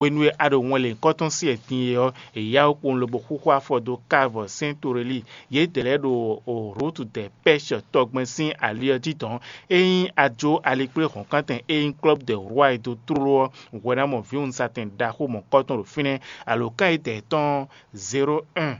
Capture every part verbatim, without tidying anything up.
Hwenu e a ɖo wɛn lěhunkɔtɔn sí wɛ din é ɔ́, è yá wú kpowun lobo xúxú afɔ dó Kavɔ Sɛ́n Torelíi. Yědɛɛ lɛ́ɛ ɖo Rútu dɛ Pɛ́shɔ tɔgbɛn sín ali ɔ́ jí dɔ̌n. Ényí a jó alikplé hɔ̌nkántɛn e nyí Klɔ́bu dɛ Rwá e dó tlóló ɔ́, hwɛ ná mɔ vǐwunzatɛn ɖaxó mɔ̌kɔtɔn ɖo fínɛ́. Alǒkan yědɛɛ tɔn ɔ́, zéro un,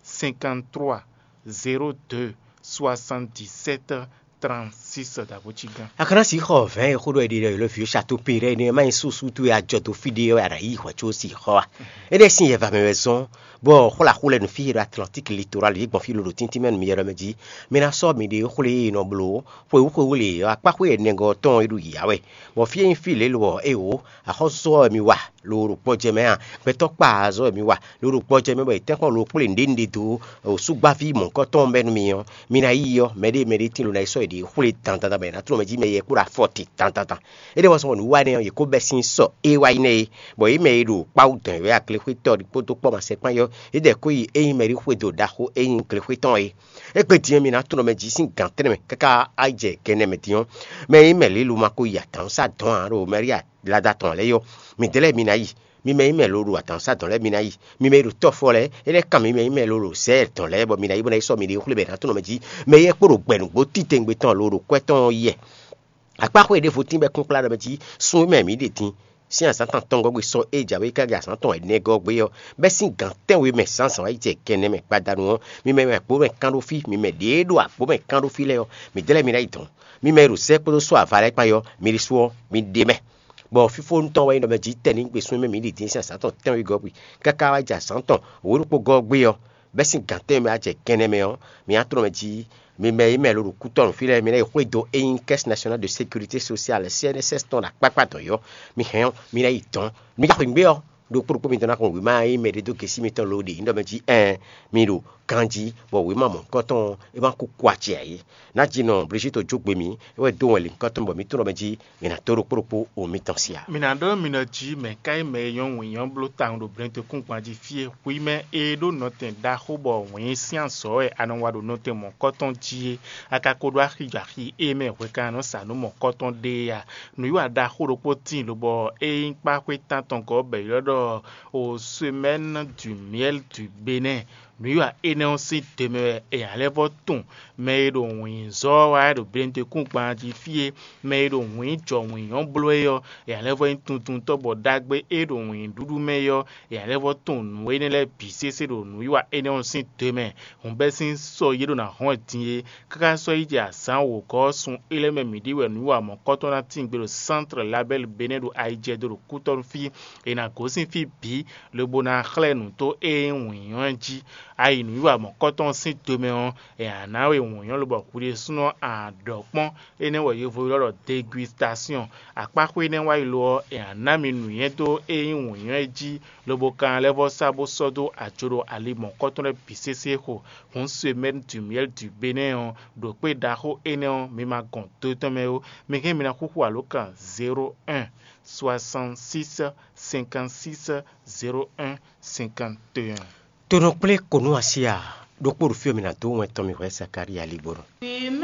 cinquante-trois, zéro deux, soixante-dix-sept, trente-six. Dǎbó cí gán. A ka ná sixɔ vɛ̌ɛn e xó ɖɔ è ɖe ɖɔ è lɔ vǐ Satopéɖɛ́ énɛ́ má nyí súsú towe ajɔ dó fí ɖé ɔ́, wɛ a nǎ yí hwɛ̌ có sixɔ a? Énɛ́ sín yɛva mɛ wɛ zɔ́n, bɔ xwlá xú lɛ́ɛ nǔ fí e ɖo Atlantík litoral yě gbɔn fí lolo tíntín mɛ nú mi yɛ ɖɔ mɛ jí. Mi ná sɔ́ miɖée xwlé e nɔ bló xwewú xwewú lě ɔ́, akpá xwé ɛnɛgɔ́ tɔn e ɖo yǐyá wɛ, bɔ fí e nyí fí lě lo ɔ́, éeǒ, axɔ́súzɔ́ wɛ mi wa, lo ɖo gbɔjɛ mɛ a? Gbɛtɔ́ kpa azɔ́ wɛ mi wa, lo ɖo gbɔjɛ mɛ bɔ è tɛ́nkpɔ́n lo kplé nǔɖé nǔɖé dó súgbáví mɔ̌hunkɔtɔn bɛ́ nú mi ɔ́, mi ná yi ɔ́, mɛɖée mɛɖée tín lo ná yi sɔ́ yěɖée xwlé dandan bɔ è nǎ tlɔ́n mɛ jí mɛ yɛkpó ɖo afɔ te dandan. É ɖe wɔ sɔ́ nǔwiwa énɛ́ ɔ́, yě kó bɛ́ sín sɔ é wá yi nɛ́ é, bɔ yě mɛ e ɖo kpáwú dɔn wɛ aglexwétɔ́ ɖokpó dó kpɔ́ masɛkpán yɔ́, yědɛɛ kó yi é nyí mɛɖíxwedó ɖaxó e nyí glexwé tɔn é. Égbé din ɔ́, mi ná tunɔ mɛ jí sín gǎn tɛ́nnɛ mɛ káká á yi jɛ gɛnɛ mɛ din ɔ́, mɛ e nyí mɛ lě lo ma ko yi adǎn sá dɔ̌n ǎ ɖo Maria lada tɔn lɛ́ɛ yɔ́. Midɛɛ lɛ́ɛ mi ná yi, mi mɛ e nyí mɛ lo ɖo adǎn sá dɔ̌n lɛ́ɛ mi ná yi, mi mɛ e ɖo tɔ́fɔ lɛ́ɛ, é lɛ́ kan mi mɛ e nyí mɛ lo ɖo zɛ̌ɛ dɔ̌n lɛ́ɛ, bɔ mi ná yi bó ná yi sɔ́ miɖée xwlé bɔ è nǎ tunɔ mɛ jí, mɛ e yɛ kpó ɖo gbɛ̌núgbó titewungbe tɔn lo ɖo kwɛ́ tɔn ɔ́ yi. Akpáxwé ɖěvo tín bɔ é kún kplá ɖɔ mɛ jí, sun e mɛ mǐ ɖe din sín azǎn tɔn tɔn gɔ́ gbe sɔ e jǎwe káká azǎn tɔn ɛnɛ gɔ́ gbé ɔ́, bɛ́ sín gǎn tɛ́nwe mɛ zǎnzǎn wá yi jɛ gɛnɛ mɛ gbadanu ɔ́, mi mɛ e ɖo agbǒ mɛ kán ɖó fí, mi mɛ ɖě e ɖo agbǒ mɛ kán ɖó fí lɛ́ɛ ɔ́, midɛɛ lɛ́ɛ mi ná yi dɔ̌n. Mi mɛ e ɖo zɛ́ kpódó sɔ́ ava lɛ́ɛ kpán yi ɔ́, mi ɖésú ɔ́, mi ɖe mɛ. Bɔ fífónú tɔn wɛ nyí ɖɔ mɛ jí tɛ́ ní gbe sún mɛ mǐ ɖi dín sín azǎn tɔn tɛ́nwe gɔ́ gbe, káká wá jɛ azǎn tɔn wǒ ɖokpó gɔ́ gbé ɔ́, bɛ́ sín gǎn tɛ́nwe mɛ wá jɛ gɛnɛ mɛ ɔ́, mi ná tlɔ́n mɛ jí. Mi mɛ e mɛ lo ɖo kútɔ́ nǔ fí lɛ́ɛ, mi ná yi xwedó e nyí Caisse Nationale de Sécurité Sociale, C N S S, tɔn ɖo akpákpá dɔ̌n yɔ́. Mi hɛn ɔ́, mi ná yi dɔ̌n. Mi ka xweyǐgbe ɔ́, ɖokpó ɖokpó mitɔn ná xɔ wěma e nyí mɛɖé dó gěsí mitɔn lóɖe nyí ɖɔ mɛ jí ɛɛn, mi ɖo ganjí, bɔ wěma mɔ̌hunkɔtɔn ɔ́, é ma kú kɔ acɛ ǎ é. Ná ji nɔ Blížíto jó gbe mì, é wɛ dó wɛn lěhunkɔtɔn bɔ mǐ tunɔ mɛ jí, mǐ ná dó ɖokpó ɖokpó wo mitɔn sí ǎ. Mǐ ná ɖɔ mi nɔ jí mɛ̌ ká nyí mɛ e nyɔ́ wǐnyɔ́ bló tawun ɖo blɛ́ndekúngban jí fí e? Hwi mɛ e ɖó nɔtɛn ɖaxó bɔ wǐin sín azɔ̌ wɛ a nɔ wa ɖo nɔtɛn mɔ̌kɔtɔn jí é, a ka ko ɖó axi jɔ axi e mɛ hwɛkannɔ sa nǔ mɔ̌kɔtɔn ɖe é a? Nǔwiwa ɖaxó ɖokpó tíin lobɔ é nyí kpáxwé tántɔngɔ́ bɔ è ylɔ́ ɖɔ au semaine du miel du Bénin. Nǔwiwa énɛ́ ɔ́ sín te mɛ wɛ è ná lɛ́ vɔ́ tunwun mɛ e ɖo wǐnzɔ́ ɔ́ wá ɖo blɛ́ndekúngban jí fí é, mɛ e ɖo wǐn jɔ wǐn nyɔ́ bló é ɔ́, è ná lɛ́ vɔ́ nyí tuntuntɔ́ bɔ ɖagbe e ɖo wǐnɖuɖu mɛ é ɔ́, è ná lɛ́ vɔ́ tunwun nǔ énɛ́ lɛ́ɛ bǐ sésé ɖo nǔwiwa énɛ́ ɔ́ sín te mɛ. Hǔn bɛ́ sín sɔ yě ɖo ná hɔn din é, káká sɔ́ yi jɛ azǎn wǒgɔ́ ɔ́ sun é lɛ́ɛ mɛ mǐ ɖi wɛ nǔwiwa mɔ̌kɔtɔn ná tín gbe ɖo Sántre Labɛ́l Benɛ́ ɖo ayijɛdo ɖo kútɔ́nú fí. È nǎ gosín fí bǐ, lobo ná xlɛ́ nǔ tó e nyí wǐnyɔ́ ɛ jí. A yi nǔwiwa mɔ̌kɔtɔn ɔ́ sín do mɛ ɔ́, è nǎ ná we wǐnyɔ́ lobɔ hwi ɖésúnɔ a ɖɔ kpɔ́n. Énɛ́ wɛ yovó ylɔ́ ɖɔ degustation. Akpáxwé énɛ́ wá yi lo ɔ́, è nǎ ná mi nǔnywɛ́ dó e nyí wǐnyɔ́ ɛ jí, lobo ka ná lɛ́ vɔ́ sá bó sɔ́ dó ajo ɖo ali mɔ̌kɔtɔn lɛ́ɛ bǐ sésé xo. Hǔn semɛ́ni du miɛ́l du Benɛ́ ɔ́, ɖo kpé ɖaxó énɛ́ ɔ́, mi ma gɔn do tɔn mɛ ó. Mi hɛn mi ná xúxú alǒkan zéro un, soixante-six, cinquante-six, zéro un, cinquante et un. Tonɔ kplé konu asi a? Ɖokpó ɖo fí ɔ́, mi ná dó wɛn tɔn mi hwɛ Zakalía lígbónɔ.